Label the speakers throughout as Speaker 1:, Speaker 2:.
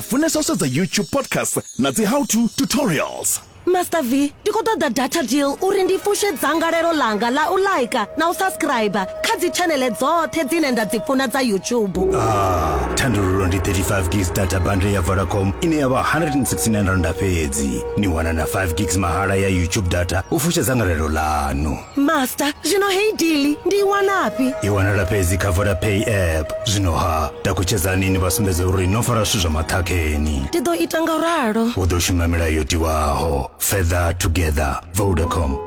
Speaker 1: Funesa u sedza YouTube podcasts na dzi how to tutorials.
Speaker 2: Master V, ndi khou ṱoḓa data deal uri ndi fushe dzangalelo ḽanga ḽa u laika na u subscriber kha dzi tshanele dzoṱhe dzine nda dzi funa dza YouTube.
Speaker 3: Ah, thandululo ndi 35 gigs data bundle ya Vodacom ine ya vha 169 randa fhedzi. Ni wana na 5 gigs mahala ya YouTube data u fusha dzangalelo ḽanu.
Speaker 2: Master, zwino heyi deal ndi i wanafhi?
Speaker 3: I wanala fhedzi kha Vodapay app. Zwino ha, takutshedzani ni vha sumbedze uri no fara zwithu zwa maṱhakheni.
Speaker 2: Ndi ḓo ita nga u ralo.
Speaker 3: Hu ḓo shuma milayo yo tiwaho. Further together. Vodacom.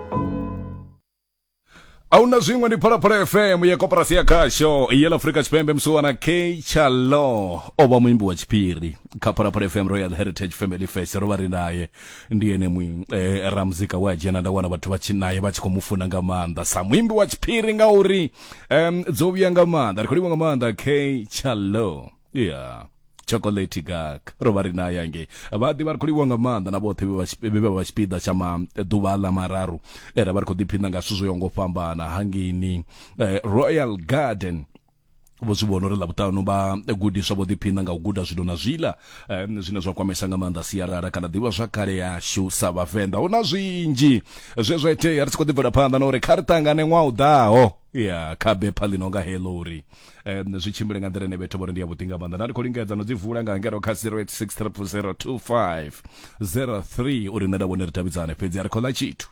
Speaker 4: Ahuna zwiṅwe ndi Phalaphala FM ya koporasi ya khasho ya ḽa Afrika Tshipembe musiwana K Chalo o vha muimbi wa tshiphiri kha Phalaphala FM Royal Heritage Family Fest ro vha ri naye ndi ene mui eh, ramuzika we a dzhena nda wana vhathu vha tshi naye vha tshi khou mu funa nga maanḓa sa muimbi wa tshiphiri ngauri um, dzo vhuya nga maanḓa ri khou livha nga maanḓa K Chalo yeah chocolate gak ro vha ri naye angei vha ḓivha ri khou livhuwa nga maanḓa na vhoṱhe vhe vha tshipiḓa tsha maḓuvha aḽa mararu e ra vha ri khou ḓiphina nga zwithu zwo yaho ngo fhambana hangeini eh, Royal Garden vho zwi vhona uri ḽavhuṱanu vha gudiswa vho ḓiphina nga u guda zwino na zwiḽa um, zwine zwa kwamesa nga maanḓa sialala kana ḓivha zwa kale yashu sa vhavenḓa hu na zwinzhi zwe zwa itea ri tshi khou ḓi bvela phanḓa na uri kha ri ṱangane ṅwaha u ḓaho ya kha bepha ḽi no nga heḽo uri um, zwi tshimbile nga nḓila ine vhethu vho ri ndi ya vhuḓi nga maanḓa nda ndi khou lingedza no dzi vula nga ngero kha 086 000 2503 uri nṋe nda vhone ri davhidzane fhedzi a ri khou ḽa tshithu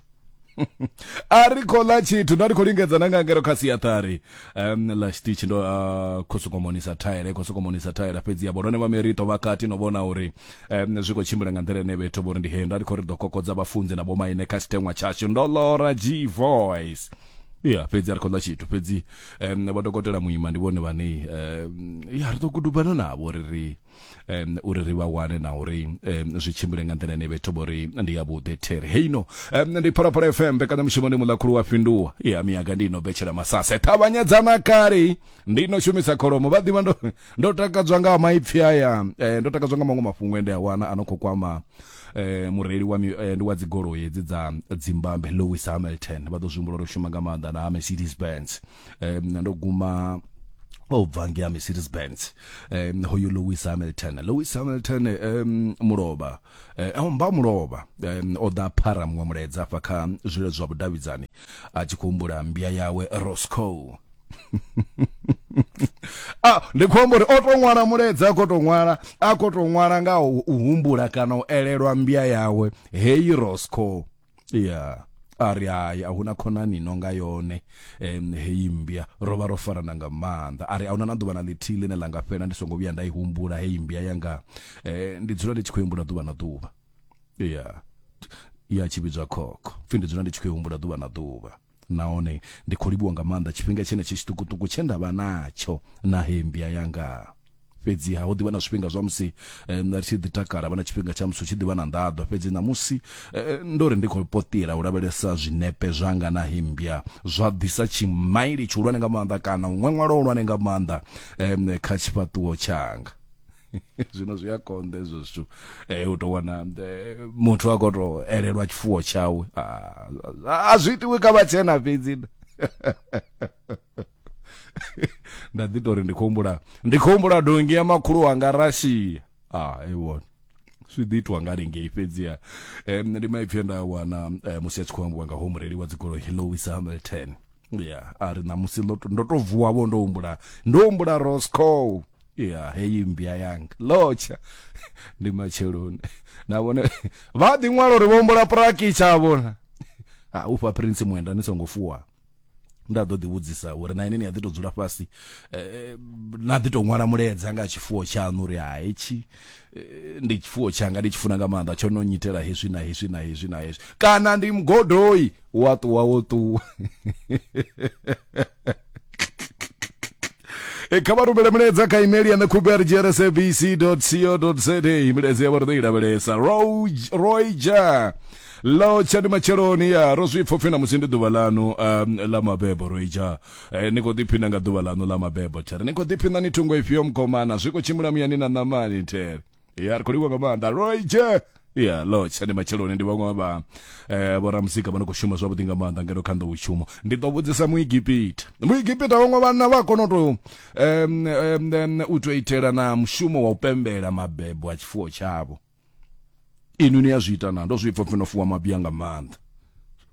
Speaker 4: a ri khou ḽa tshithu nda ndi khou lingedza na nga ngero kha siaṱari um ḽa tshiṱitshi ndo uh, khou sokou monisa thaela khou sokou monisa thaela fhedzi ya vhone vha merito vha kati no vhona uri um zwi khou tshimbila nga nḓila ine vhethu vho ri ndi he nda ndi khou ri ḓo kokodza vhafunzi na vhomaine kha tshiteṅwa tshashu ndo lora g voice ya fhedzi a ri khou ḽa tshithu fhedzi um vha dokotela muima ndi vhone vhane um ya ri ḓo gudubana navho uri ri um uri ri vha wane na uri um zwi tshimbile nga nḓila ine vhethu vho ri ndi yavhuḓi there heino um ndi phalaphala fm mbekanyamushumo ndi muḽakhulu wa fhinduwa ya miyaga ndi ino betshela masase ṱavhanyedzana kale ndi ino shumisa kholomo vha ḓivha ndo ndo takadzwa nga maipfi aya eh, ndo takadzwa nga maṅwe mafhungo ende a wana a no khou kwama eh, mureili wa eh, ndi wa dzigoloi hedzi dza dzimbambe Lewis Hamilton vha ḓo zwi humbula uri shuma nga maanḓa na Mercedes Benz eh, ndo guma o bva ngei Mercedes Benz um hoyu Lewis Hamilton Lewis Hamilton um mulovha eh, mba mulovha um, o ḓa phara muṅwe mulaedza afha kha zwile zwa vhudavhidzani a tshi khou humbula mbia yawe Roscoe ah ndi khou amba uri o to ṅwala mulaedza a khou to ṅwala a khou to ṅwala nga u humbula kana u elelwa mbia yawe heyi Roscoe ya a ri hai a huna khonani no nga yone um heyi mmbya ro vha ro farana nga maanḓa a ri a huna na ḓuvha na ḽithihi ḽine ḽa nga fhela ndi songo vhuya nda i humbula heyi mmbya yanga um ndi dzula ndi tshi khou humbula ḓuvha na ḓuvha ya ya tshi vhidzwa khokho pfhi ndi dzula ndi tshi khou humbula ḓuvha na ḓuvha nahone ndi khou livhuwa nga maanḓa tshifhinga tshenetshi tshiṱukuṱuku tshe nda vha natsho na heyi mmbya yanga Fhedziha ho ḓivha na zwifhinga zwa musi ri tshi ḓi takala, vha na tshifhinga tsha musi hu tshi ḓivha na nḓaḓo. Fhedzi ṋamusi ndo ri ndi khou poṱila u lavhelesa zwinepe zwanga na hemmbya zwa ḓisa tshimaili tshihulwane nga maanḓa kana u ṅweṅwela hulwane nga maanḓa kha tshifhaṱuwo tshanga. Zwino zwi a konḓa hezwo zwithu u tou wana muthu a khou tou elelwa tshifuwo tshawe. A zwi itiwi kha vhatshena fhedzi. Nda ḓi tori ndi khou humbula ndi khou humbula donngi ya makhulu wanga Russia ah i vhona zwi ḓi itwa nga lingei fhedziha um, ndi maipfi e nda wana eh, musi a tshi khou ambiwa nga ho mureili wa dzigoloi Lewis Hamilton ya a ri ṋamusi ndo to vuwa vho ndo humbula ndo humbula Roscoe ya heyi mmbya yanga lotsha ndi matsheloni na vhone vha ḓi ṅwala uri vho humbula prakitsha vhona a ufha Prince Mwenda ni songo fuwa nda ḓo ḓi vhudzisa uri na ini ni a ḓi tou dzula fhasi eh, na ḓi tou ṅwala mulaedza nga tshifuwo tshaṋu uri ha hetshi eh, ndi tshifuwo tshanga ndi tshi funa nga maanḓa tsho no nyitela hezwi na hezwi na hezwi na hezwi kana ndi mugodoi wa ṱuwa wo ṱuwa E, kha vha rumele mulaedza kha email ya ṋekhube co za milaedza ya vha ri ḓo i lavhelesa roger Lotsha ndi matsheloni ya ro zwi pfa upfi na musi ndi ḓuvha ḽanu um, ḽa mabebo roija eh, ni khou ḓiphina nga ḓuvha ḽanu ḽa mabebo there ni khou ḓiphina ni thungo ifhio mukomana zwi khou tshimbila muyani na ṋamani there ya ri khou livhuwa nga maanḓa roije Ya lotsha, ndi matsheloni, ndi vhaṅwe vha vhoramuzika vha no khou shuma zwavhuḓi nga maanḓa ngeno kha nḓowetshumo. Ndi ḓo vhudzisa Muegipita, Muegipita vhaṅwe vhanna vha kona u tou u tou itela na mushumo wa u pembela mabebo a tshifuwo tshavho. Inwi ni a zwi ita na? Ndo zwi pfa pfi no fuwa mabya nga maanḓa.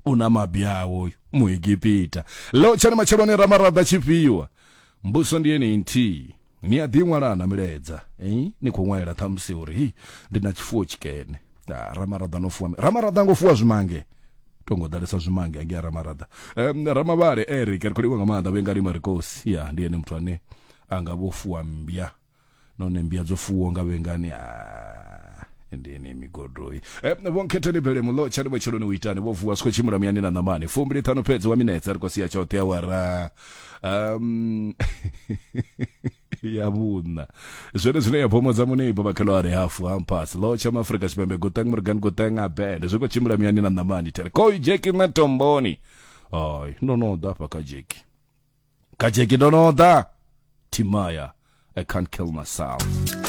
Speaker 4: U na mabya awo Muegipita. Lotsha, ndi matsheloni, Ramaraḓa tshifhiwa. Mbuso ndi yeneyi nthihi. Ni a ḓi ṅwala na milaedza eh? Ni khou ṅwalela ṱhamusi uri hi ndi na tshifuwo tshikene. Ah, Ramaraḓa no fuwa Ramaraḓa ngo fuwa zwimange. Tongo ḓalesa zwimange angei Ramaraḓa. Ramavhale Eric ri khou livhuwa nga maanḓa vhe nga lima rikosi. Ya ndi ene muthu ane anga vho fuwa mmbya. Nahone mmbya dzo fuwa nga vhengani ah ndi ene migodoi. Vho Nkhetheni Belemu ḽo tsha ndi matsheloni u itani vho vuwa zwi khou tshimbila muyani na ṋamani. 25 fhedzi wa minetse ri khou sia tshoṱhe awara ya vhuṋa zwone zwine ya phomodza munibo vhakhelo a ri hafu hampas lo tsha maafrika Tshipembe guteng morgan guteng a band zwi khou tshimbila muyani na ṋamani tere koi jeki na tomboni. Ai ndo no ḓa hafha kha jeki, kha jeki ndo no ḓa. Timaya, I can't kill myself.